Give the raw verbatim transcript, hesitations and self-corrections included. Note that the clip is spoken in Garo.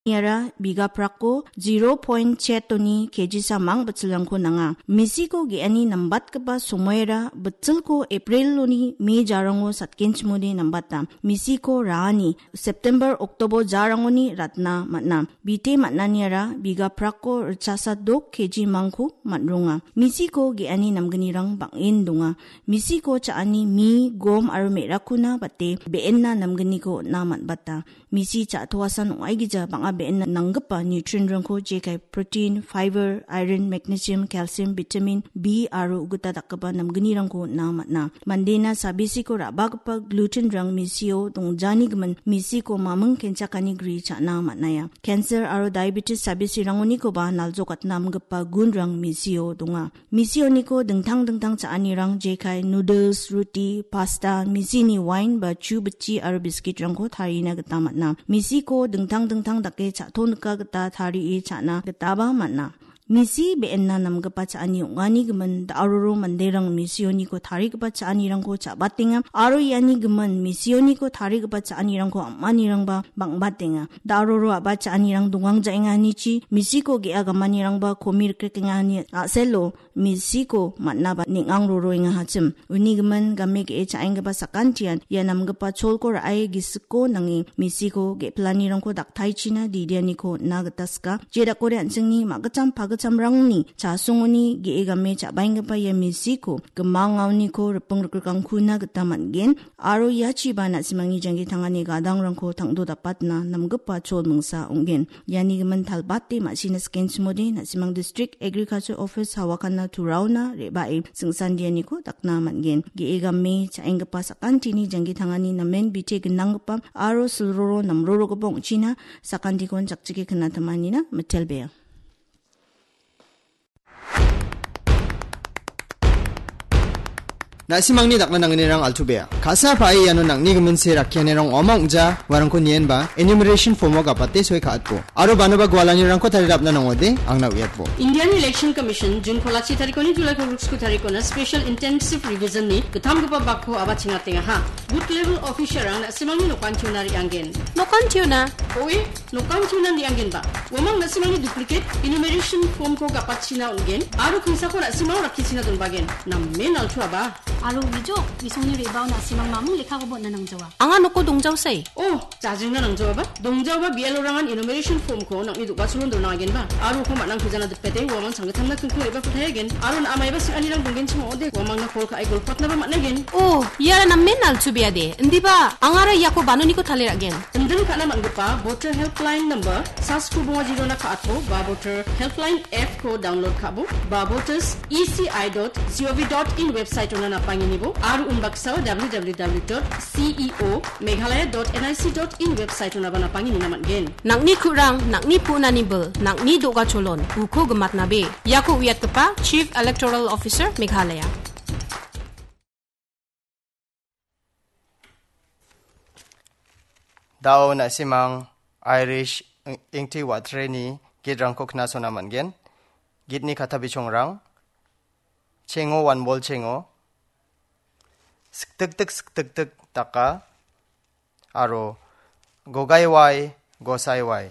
Iara bigaprako zero point chetoni kejisa mang bitsilrangko nanga. Misiko ge·ani nambatgipa somoera bitsilko Apriloni Me jarango satgenchimode nambata. Misiko raani September, Oktober jarangoni ratna man·a. Bite man·aniara bigaprako ritchasa dok keji mangko man·ronga. Misiko ge·ani namgnirang bang·en donga. Misiko cha·ani mi, gom aro me·rakkona bate be·enna namgniko on·na man·bata. Misi cha·toasan ong·aigija bang·a be·enna nanggipa nutrient-rangko jekai protein, fiber, iron, magnesium, calcium, vitamin B aro ugita dakgipa namgnirangko on·na man·a. Mandena sabisiko ra·bagipa gluten-rang misio dongjanigimin misiko maming kenchakani gri cha·na man·aia. Cancer aro diabetes sabisirangonikoba naljokatna amgipa gunrang misio donga. Misioniko dingtang dingtang cha·anirang jekai noodles, ruti, pasta, misini wain ba chu bitchi aro biskitrangko tarina gita man·a. Misiko dingtang dingtang dake cha·tonika gita tarie cha·na gitaba man·a. Misi be·enna namgipa cha·ani ong·anigimin da·aroro manderang misioniko tarigipa cha·anirangko cha·batenga aro ianigimin misioniko tarigipa cha·anirangko am·anirangba bang·batenga. Da·aroro a·ba cha·anirang dongang ja·enganichi misiko ge·a gamanirangba komi rikrikengani a·selo misiko man·aba neng·ang roroengahachim. Unigimin game ge·e cha·enggipa sakantian ia namgipa cholko ra·e gisiko nange misiko ge·pilanirangko daktaichina didianiko on·na gita sika. Jedakode an·chingni ma·gitcham pagitchamrangni chasongoni ge·e game cha·baenggipa ia misiko gimangaoniko riping rikrikangkuna gita man·gen. Aro iachiba na·simangni janggi tangani gadangrangko tangdo dapatna namgipa chol mingsa ong·gen. Iani gimin talbate ma·sina sikenchimode na·simang District Agriculture Office Hawakanna Turaona re·bae singsandianiko dakna man·gen. Ge·e game cha·enggipa sakantini janggi tangani namen bite gnanggipa aro silroro namrorogipa ong·china sakantikon chakchike knatamanina mitelbea. Na·simangni dakna nangnirang altu bea. Ka·sa pa·e iano nang·ni giminse rakkianirang ong·ama ong·ja, uarangko nienba, enumeration form-o gapate soi ka·atbo. Aro banoba gualanirangko tarirapna nangode, angna uiatbo. Indian Election Commission June kolachi tarikoni July kolgriksku tarikona Special Intensive Revision-ni gittamgipa bakko aba chingatengaha. Booth level officer-rang na·simangni nokantiona re·anggen. Nokantiona? Oe, nokantiona re·anggenba. Uamang na·simangni duplicate enumeration form-ko gapatchina on·gen, aro kingsako na·simang rakkichina donbagen. Namen altuaba. Aro uijo, bisongni re·bao na·simang mamung lekkakoba on·na nangjawa. Anga noko dongjaosai. Oh, jajingna nangjaoaba. Dongjaoba B L O-rangan enumeration form-ko nang·ni do·gacholon dona agenba. Aro uko man·ang pejana dipete uamang changgitamna kingko re·bako taiagen. Aro na·a maiba sing·anirang donggenchim ong·ode, uamangna call ka·e golpatnaba man·agen. Oh, iara namen altubeade. Indiba, angara iako banoniko tale ra·gen. Inding ka·na man·gipa Voter Helpline number, sasku bonga jirona ka·atbo, ba Voter Helpline app-ko download ka·bo, ba voters E C I dot G O V dot in website-ona napangenibo, aro unbaksao W W W dot C E O Meghalaya dot N I C dot in website-onaba napangenina man·gen. Nang·ni ku·rang, nang·ni pu·nani bil, nang·ni do·gacholon, uko gimatnabe. Iako uiatgipa Chief Electoral Officer Meghalaya. Da·o na·simang Irish ing-, ingti wa·treni gitrangko knasona man·gen. Gitni kata bichongrang, chengo wanbol chengo, siktiktik siktiktik daka, aro gogaiwai gosaiwai.